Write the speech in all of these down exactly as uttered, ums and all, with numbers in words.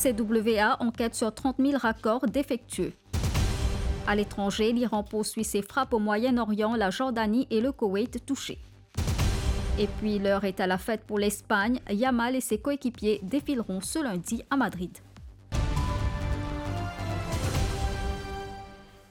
C W A enquête sur trente mille raccords défectueux. À l'étranger, l'Iran poursuit ses frappes au Moyen-Orient, la Jordanie et le Koweït touchés. Et puis, l'heure est à la fête pour l'Espagne. Yamal et ses coéquipiers défileront ce lundi à Madrid.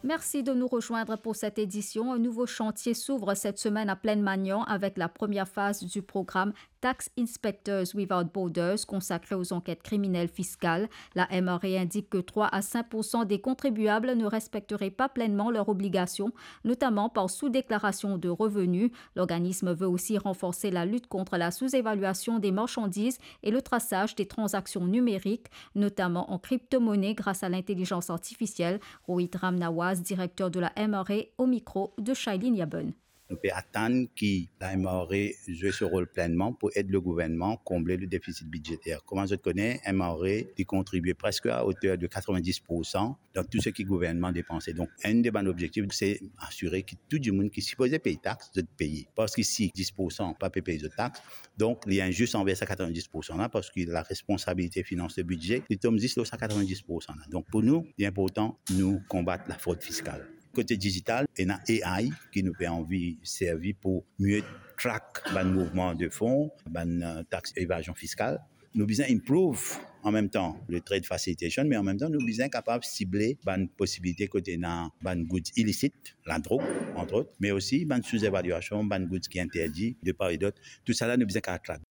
Merci de nous rejoindre pour cette édition. Un nouveau chantier s'ouvre cette semaine à Plaine-Magnan avec la première phase du programme Tax Inspectors Without Borders consacré aux enquêtes criminelles fiscales. La M R A indique que trois à cinq pour cent des contribuables ne respecteraient pas pleinement leurs obligations, notamment par sous-déclaration de revenus. L'organisme veut aussi renforcer la lutte contre la sous-évaluation des marchandises et le traçage des transactions numériques, notamment en crypto-monnaie grâce à l'intelligence artificielle. Rohit Ramnawaz, directeur de la M R A, au micro de Shailene Yaben. Nou pe atann ki la M R A zwe so rol plenman pou ed le gouvernman konble le defisit bidzeter. Kouma zot kone, M R A li kontribie preske a oter de katrevin-dis pour san dan tou seki gouvernman depanse. Donk, enn de bann objektif, se asire ki tou dimoun ki sipoze pey tax, zot peye. Parski si dis pour san pa pe pey zot tax, donk li inzis anver sa katrevin-dis pour san la, parski la responsabilite finans le bidze, li tom zis lor sa katrevin-dis pour san la. Donk, pou nou, li inportan nou konbat lafrod fiskal. Kote dizital, ena A I ki nou pe anvi servi pou mie track bann mouvman de fon, bann, eh, tax evazion fiskal. Nou bizin improve an mem tan le trade facilitation, me an mem tan nou bizin kapav sible bann posibilite kot ena bann goods ilisit, ladrog, antrot, me osi bann sou-evaluasion, bann goods ki interdi de par e dot. Tousala nou bizin kapav track.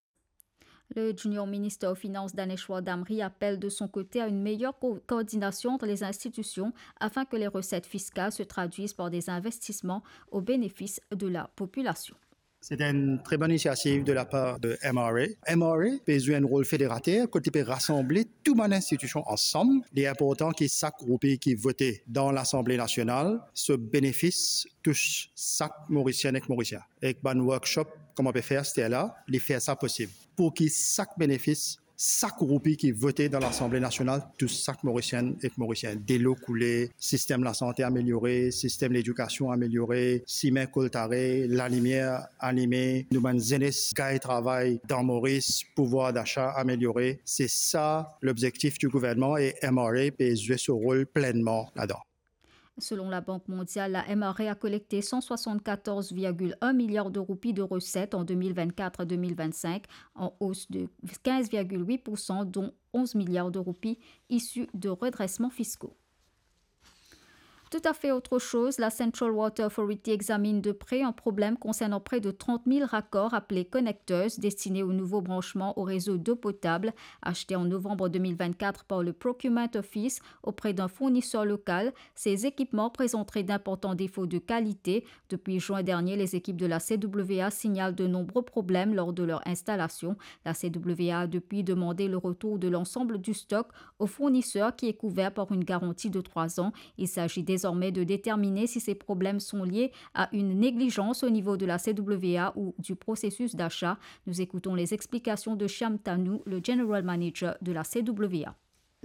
Le junior ministre aux Finances, Daneshwar Damri, appelle de son côté à une meilleure co-, coordination entre les institutions afin que les recettes fiscales se traduisent par des investissements au bénéfice de la population. C'est une très bonne initiative de la part de M R A. M R A pe zwe enn rol federater kot li pe rasanble tou bann institusion ansam. Li inportan ki sak roupi ki vote dan Lasanble Nasional, so benefis tous sak Morisien ek Morisien. Ek bann workshop kouma pe fer aster la, li fer sa posib. Pou ki sak benefis, sak roupi ki vote dan Lasanble Nasional tous sak Morisien ek Morisien. Delo koule, sistem lasante ameliore, sistem ledikasion ameliore, simin koltare, lalimier anime, nou bann zenes gagn travay dan Moris, pouvwar dasa ameliore. Se sa lobzektif di gouvernman e M R A pe zwe so rol plenman ladan. Selon la Banque mondiale, la M R A a collecté cent soixante-quatorze virgule un milliards de roupies de recettes en deux mille vingt-quatre deux mille vingt-cinq, en hausse de quinze virgule huit pour cent, dont onze milliards de roupies issues de redressements fiscaux. Tout à fait autre chose, la Central Water Authority examine de près un problème concernant près de trente mille raccords appelés connecteurs destinés au nouveau branchement au réseau d'eau potable acheté en novembre deux mille vingt-quatre par le Procurement Office auprès d'un fournisseur local. Ces équipements présenteraient d'importants défauts de qualité. Depuis juin dernier, les équipes de la C W A signalent de nombreux problèmes lors de leur installation. La C W A a depuis demandé le retour de l'ensemble du stock au fournisseur qui est couvert par une garantie de trois ans. Il s'agit désormais de déterminer si ces problèmes sont liés à une négligence au niveau de la C W A ou du processus d'achat. Nous écoutons les explications de Shyam Tanu, le General Manager de la C W A.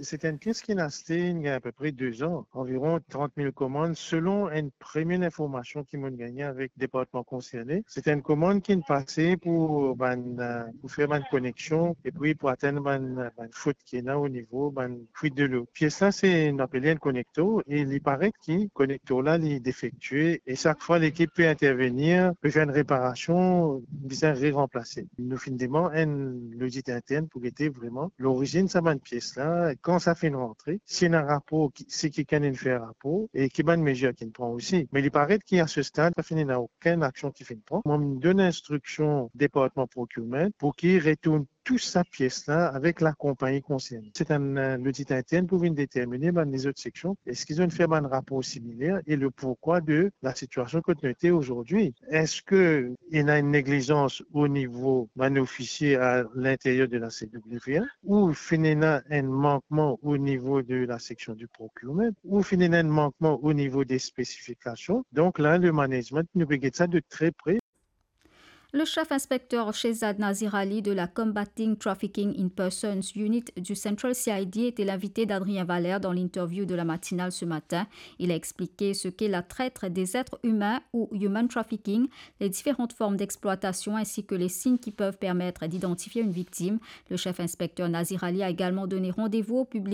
Se enn pies ki inn aste, inn gagn apepre de zan, anviron trant mil komann, selon enn premie informasion ki mo'nn gagne avek departman konserne. Se enn komann ki inn pase pou bann, eh, pou fer bann koneksion, epi pou atenn bann, bann fot ki ena o nivo bann fuit de lo. Pies la, se, nou apel li enn konektor, e li paret ki konektor la, li defektie, e sak fwa lekip pe intervenir, pe fer enn reparasion, bizin re-ranplase. Nou finn demann enn lodit intern pou gete vreman lorizinn sa bann pies la, kan sa finn rantre, si ena rapor, ki, si kikenn inn fer rapor, e ki bann mezir ki'nn pran osi. Me li paret ki a se stad, pa finn ena okenn aksion ki finn pran. Mo donn instriksion departman procurement pou ki retourn tou sa pies la avek lakonpagni konserne. Se enn, eh, lodit intern pou vinn determine bann lezot seksion, eski zot inn fer bann rapor similer e le pourkwa de la sitiasion kot nou ete azordi. Eski ena enn neglizans o nivo bann ofisie a linteryer de la C W A, ou finn ena enn mankman o nivo de la seksion di procurement, ou finn ena enn mankman o nivo de spesifikasion? Donk la, le management, nou pe get sa de tre pre. Le chef inspecteur Shehzad Nazir Ali de la Combating Trafficking in Persons Unit du Central C I D était l'invité d'Adrien Valère dans l'interview de la matinale ce matin. Il a expliqué ce qu'est la traite des êtres humains ou human trafficking, les différentes formes d'exploitation ainsi que les signes qui peuvent permettre d'identifier une victime. Le chef inspecteur Nazir Ali a également donné rendez-vous au public